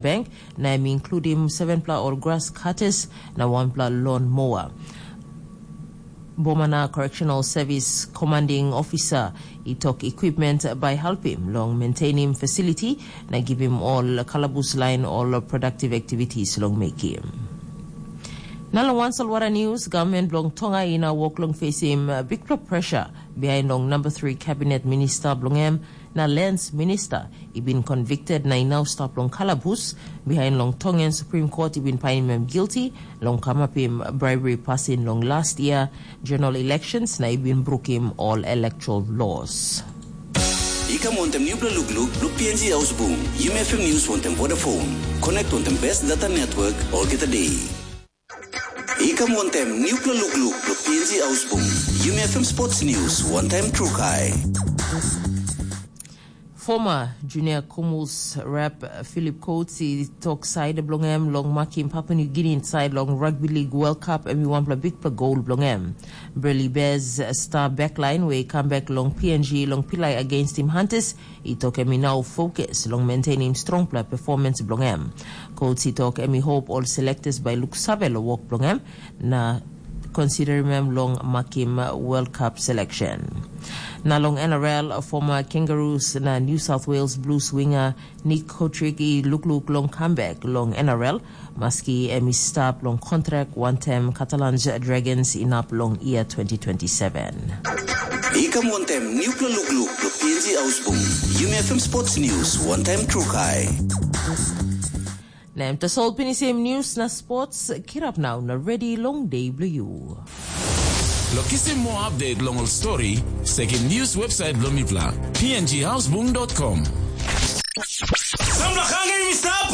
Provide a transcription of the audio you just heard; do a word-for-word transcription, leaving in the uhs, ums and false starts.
Bank, na em i inkludim sevenpela ol gras kates na wanpela lon moa. Bomana Correctional Service Commanding Officer i tok equipment bai helpim long maintainim facility na givim ol kalabus lain ol productive activities long mekim. Na long wan solwara news, government bilong Tonga i na wok long facing uh, big pressure behind long number three cabinet minister bilong em na lands minister i bin convicted na i nau stap long kalabus behind long Tongan Supreme Court i bin painim em guilty long kamapim bribery pasin long last year general elections na i bin brukim all electoral laws. I kam wantem nupela lukluk blo P N G Ausbung, Yumi F M News wantem Vodafone. Connect wantem best data network olgeta day. I kam wantem nupela lukluk blo P N G Ausbung, Yumi F M Sports News wantem Trukai. Former Junior Kumus rep Philip Coates i tok side bilong em long makim Papua New Guinea inside long Rugby League World Cup em i wanpela bikpela gol bilong em. Burley Bears star backline we i kam bek long P N G long pilai against Team Hunters i tok em i nau fokus long maintainim strongpela performance bilong em. Coates i tok em i hope ol selectors bai luksave long wok bilong em na considerim em long makim World Cup selection. Na long N R L, former Kangaroos na New South Wales Blues winger Nick Cotric i lukluk long comeback long N R L, maski em i stap long kontrak wantaim Catalans Dragons inap long year twenty twenty-seven. I kam wantem nupela lukluk blo P N G Ausbung, Yumi F M Sports News wantem Trukai. Na em tasol pinisim news na sports, kirap nau na ready long day bilong you. Lo kisim more update long ol story, sekim news website bilong mipela, p n g houseboom dot com. Samla hangre mi stap.